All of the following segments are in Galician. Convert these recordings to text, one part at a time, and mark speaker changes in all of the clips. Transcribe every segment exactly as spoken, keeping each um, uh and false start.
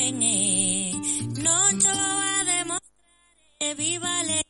Speaker 1: ben e non cho vou a demostrar e viva le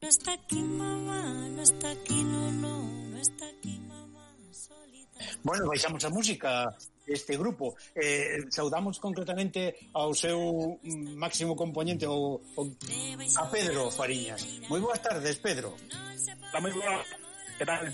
Speaker 1: no está aquí mamá, no está aquí no, no, no está aquí mamá, solita.
Speaker 2: Bueno, baixamos a música deste grupo. Eh, saudamos concretamente ao seu máximo componente, o, o, a Pedro Fariñas. Moi boas tardes, Pedro.
Speaker 3: Está moi boa. Que tal?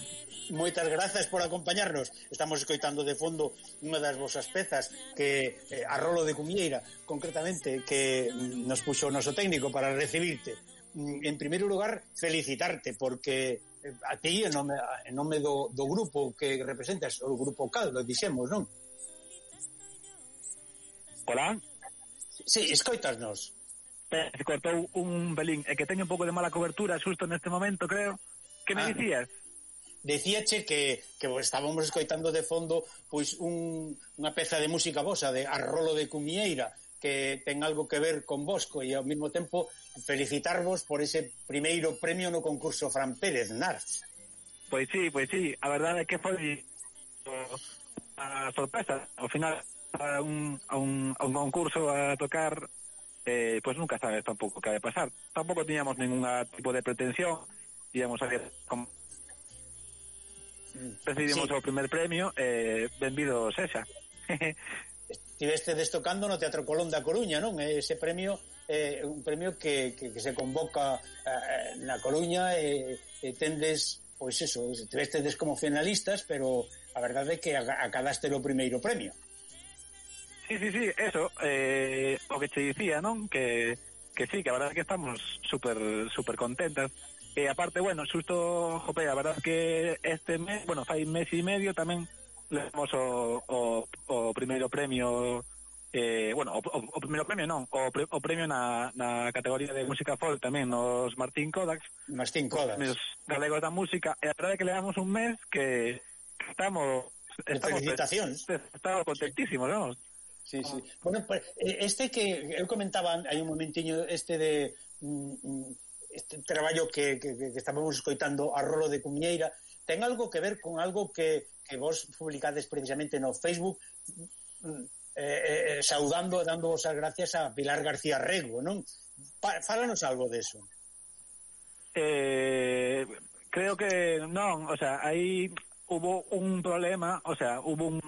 Speaker 2: Moitas grazas por acompañarnos. Estamos escoitando de fondo unha das vosas pezas que eh, a Rolo de Cumieira, concretamente, que nos puxo o noso técnico para recibirte. En primeiro lugar, felicitarte porque a ti, en nome, en nome do, do grupo que representas, o grupo Caldo, dixemos, non?
Speaker 3: Hola?
Speaker 2: Sí, escoitasnos.
Speaker 3: Se cortou un pelín, é que teño un pouco de mala cobertura xusto neste momento, creo. Que me ah. dicías?
Speaker 2: Decíache que, que estábamos escoitando de fondo pois un, unha peza de música vosa, de Arrolo de Cumieira, que ten algo que ver con Bosco, e ao mesmo tempo felicitarvos por ese primeiro premio no concurso Fran Pérez Nars.
Speaker 3: Pois sí, pois sí, a verdade é que foi a sorpresa, ao final a un, a un, a un concurso a tocar, eh, pois nunca sabes tampouco que vai pasar. Tampouco tiñamos ningún tipo de pretensión, íamos a ver como recibimos sí. o primer premio, eh, benvido sexa.
Speaker 2: Estiveste destocando no Teatro Colón da Coruña, non? Ese premio é eh, un premio que, que, que se convoca eh, na Coruña e eh, tendes, pois eso, estivestedes como finalistas, pero a verdade é que acadaste o primeiro premio.
Speaker 3: Sí, sí, sí, eso, eh, o que te dicía, non? Que, que sí, que a verdade é que estamos super, super contentas. E aparte, bueno, xusto, jope, a verdade é que este mes, bueno, fai mes e medio tamén levamos o, o, o primeiro premio, eh, bueno, o, o, o primeiro premio non, o, pre, o premio na, na categoría de música folk tamén nos Martín Kodaks,
Speaker 2: Martín Kodaks,
Speaker 3: os galegos da música, e a verdade é que levamos un mes que, que estamos,
Speaker 2: estamos felicitacións,
Speaker 3: estamos contentísimos, non?
Speaker 2: Sí, sí. Bueno, este que eu comentaba hai un momentiño, este de este traballo que, que, que estábamos escoitando, Arrolo de Cumieira, ten algo que ver con algo que, que vos publicades precisamente no Facebook, eh, eh, saudando e dando as gracias a Pilar García Rego, non? Fálanos algo deso.
Speaker 3: Eh, creo que non, o sea, aí hubo un problema, o sea, hubo un,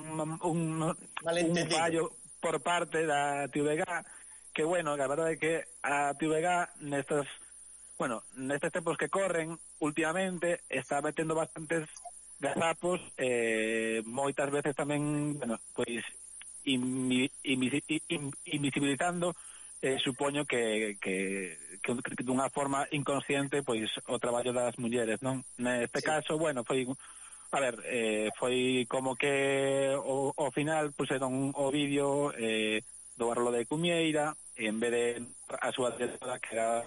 Speaker 3: un, un fallo por parte da T V G, que bueno, que a verdade é que a T V G nestas, bueno, nestes tempos que corren últimamente está metendo bastantes gazapos, eh, moitas veces tamén, bueno, pois invi, invi, invisibilizando eh, supoño que, que, que dunha forma inconsciente pois o traballo das mulleres, non? Neste sí. caso, bueno, foi a ver, eh, foi como que o, o final puseron o vídeo eh, do Arrolo de Cumieira e en vez de a súa directora que era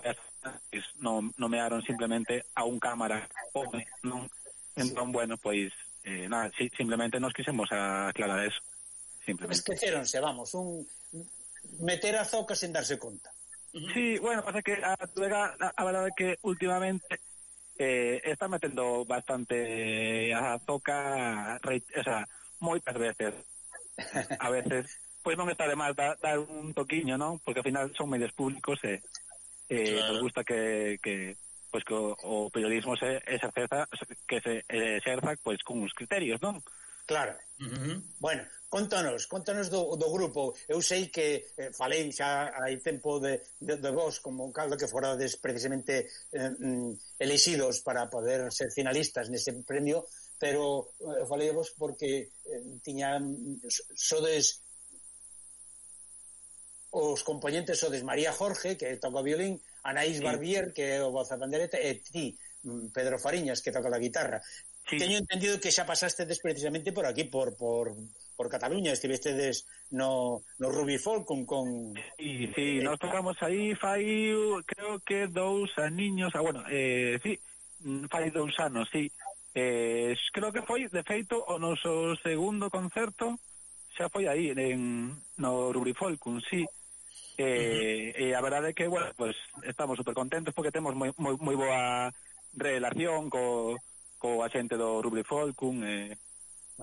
Speaker 3: pues, non nomearon simplemente a un cámara home, non? Entón, bueno, pois eh, nada, sí, simplemente nos quisemos aclarar eso. Simplemente.
Speaker 2: Esqueceronse, vamos, un meter a zoca sen darse conta.
Speaker 3: Sí, bueno, pasa que a, a, a verdade é que últimamente eh, está metendo bastante a zoca, o sea, moitas veces. A veces, pois non está de mal dar, dar un toquiño, non? Porque ao final son medios públicos e eh, claro. Nos gusta que... que pois que o, o periodismo se exerza, que se exerza pois con uns criterios, non?
Speaker 2: Claro. Uh-huh. Bueno, contanos, contanos do, do grupo. Eu sei que eh, falei xa hai tempo de, de, de vos como caldo que forades precisamente eh, elixidos para poder ser finalistas nese premio, pero eh, falei de vos porque eh, tiña sodes os componentes sodes María Jorge, que toca o violín, Anaís sí. Barbier, que é o voz a pandereta, e ti, Pedro Fariñas, que toca a guitarra. Sí. Teño entendido que xa pasastedes precisamente por aquí, por por, por Cataluña, estivestedes no, no Ruby Folk con... con
Speaker 3: sí, sí, eh, nos tocamos aí fai, creo que dous aniños, ah, bueno, eh, sí, fai dous anos, sí. Eh, creo que foi, de feito, o noso segundo concerto xa foi aí, en, no Ruby Folk, sí. Eh, uh-huh. E a verdade é que, bueno, pues estamos super contentos porque temos moi, moi, moi boa relación co, co a xente do Ruby Folkum e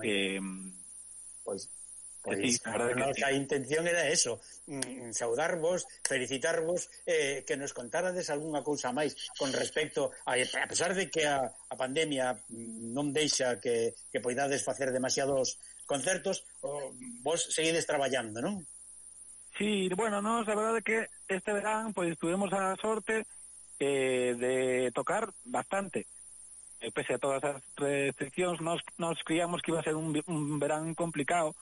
Speaker 3: eh, eh,
Speaker 2: pois pois sí, a, a nosa sí. intención era eso, mm, saudarvos, felicitarvos, eh, que nos contárades algunha cousa máis con respecto a, a pesar de que a, a pandemia non deixa que, que poidades facer demasiados concertos, oh, vos seguides traballando, non?
Speaker 3: Sí, bueno, nos, a verdade é que este verán pois tuvemos a sorte eh, de tocar bastante. Eh, pese a todas as restriccións, nos, nos criamos que iba a ser un, un verán complicado,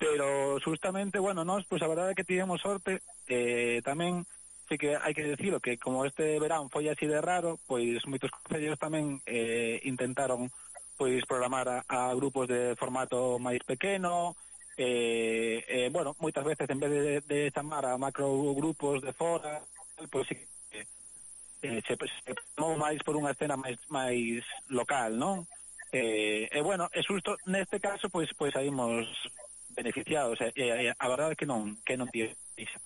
Speaker 3: pero justamente, bueno, nos, pois a verdade é que tivemos sorte, eh, tamén, sí que hai que decirlo, que como este verán foi así de raro, pois moitos concellos tamén eh, intentaron pois programar a, a grupos de formato máis pequeno, Eh, eh, bueno, moitas veces en vez de, de chamar a macrogrupos de fora, pois sí, eh, se, se tomou máis por unha escena máis máis local, non? Eh, e eh, bueno, é xusto neste caso pois pois saímos beneficiados, e eh, eh, a verdade é que non que non tiene iso.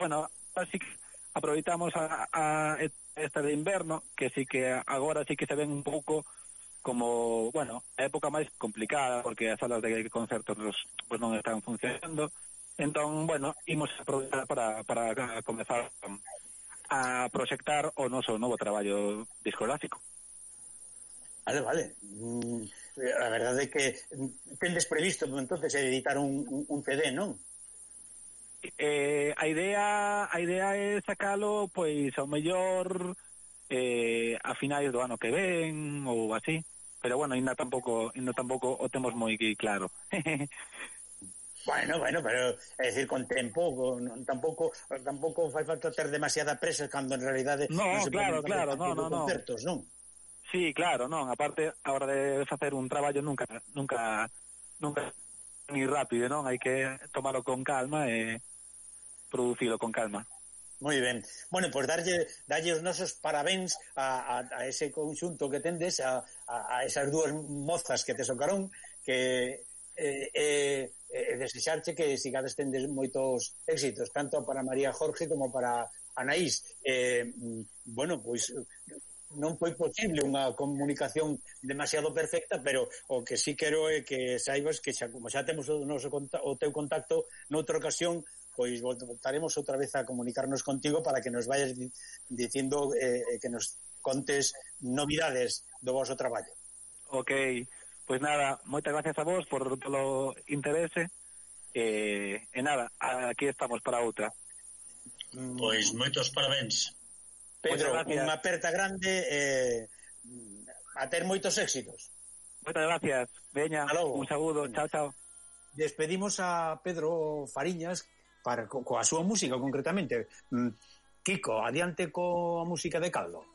Speaker 3: Bueno, así que aproveitamos a, a esta de inverno, que sí que agora sí que se ven un pouco como, bueno, a época máis complicada porque as salas de concertos pues, non están funcionando, entón, bueno, imos aproveitar para, para comezar a proxectar o noso novo traballo discográfico.
Speaker 2: Vale, vale. Mm, a verdade é que tendes previsto entonces editar un, un, un C D, non?
Speaker 3: Eh, a idea a idea é sacalo pois ao mellor eh, a finais do ano que ven ou así. Pero bueno, ainda tampouco, ainda tampouco o temos moi claro.
Speaker 2: Bueno, bueno, pero é dicir, con tempo, con, tampouco tampouco fai falta ter demasiada presa cando en realidade
Speaker 3: no,
Speaker 2: non se
Speaker 3: claro, claro, no, no, no.
Speaker 2: concertos, non?
Speaker 3: Sí, claro, non, aparte a hora de facer un traballo nunca nunca nunca ni rápido, non? Hai que tomarlo con calma e producilo con calma.
Speaker 2: Moi ben. Bueno, pois pues darlle, darlle os nosos parabéns a, a, a ese conxunto que tendes, a, a, a esas dúas mozas que te socaron, que eh, eh, eh, desexarche que sigades tendes moitos éxitos, tanto para María Jorge como para Anaís. Eh, bueno, pois non foi posible unha comunicación demasiado perfecta, pero o que sí quero é que saibas que xa, como xa temos o, noso, o teu contacto noutra ocasión, pois voltaremos outra vez a comunicarnos contigo para que nos vayas dicindo eh, que nos contes novidades do vosso traballo.
Speaker 3: Ok, pois nada, moitas gracias a vos por todo o interese e, e nada, aquí estamos para outra.
Speaker 4: Pois moitos parabéns.
Speaker 2: Pedro, unha aperta grande e eh, a ter moitos éxitos.
Speaker 3: Moitas gracias, veña, un saúdo, chao, chao.
Speaker 2: Despedimos a Pedro Fariñas para co, coa súa música concretamente. Kiko, adiante coa música de Caldo.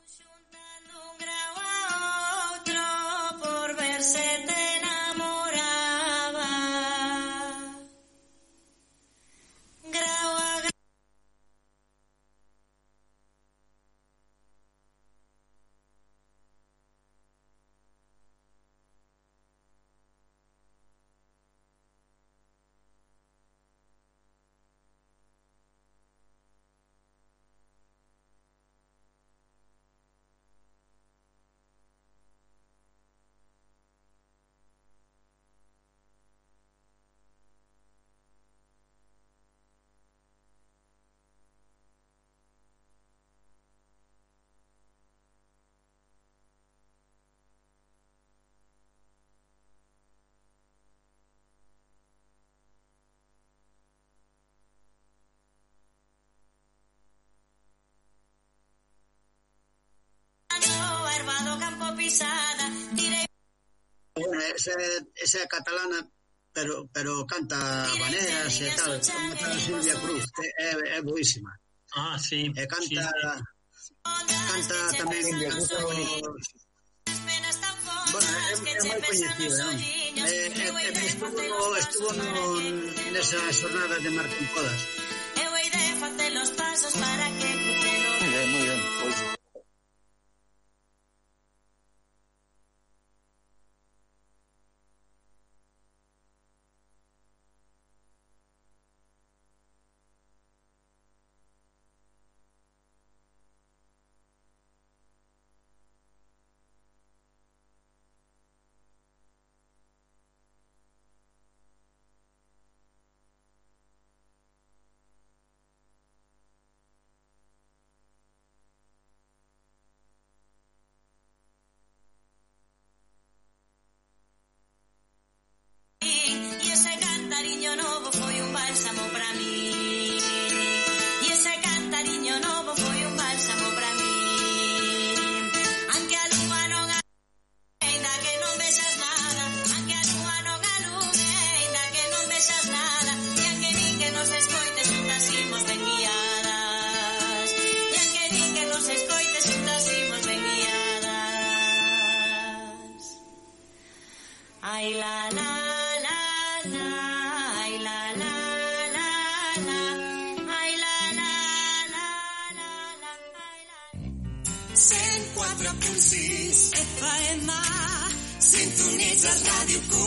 Speaker 5: Esa, esa catalana pero pero canta habaneras e tal, como tal Silvia Cruz, é, é boísima.
Speaker 4: Ah, sí.
Speaker 5: E canta canta tamén os... Bueno, é, é moi coñecida, non? E, e, e estuvo, estuvo no, nesa xornada de Martín Podas.
Speaker 1: Eu hei de facer os pasos para que crucelo.
Speaker 2: Muy bien, muy bien. Pues...
Speaker 1: Ay, la, la, la, la, ay, la, la, la, la, ay, la, la, la, la, la, ay, la.
Speaker 6: cent quatre punt sis F M, sintonitzes Ràdio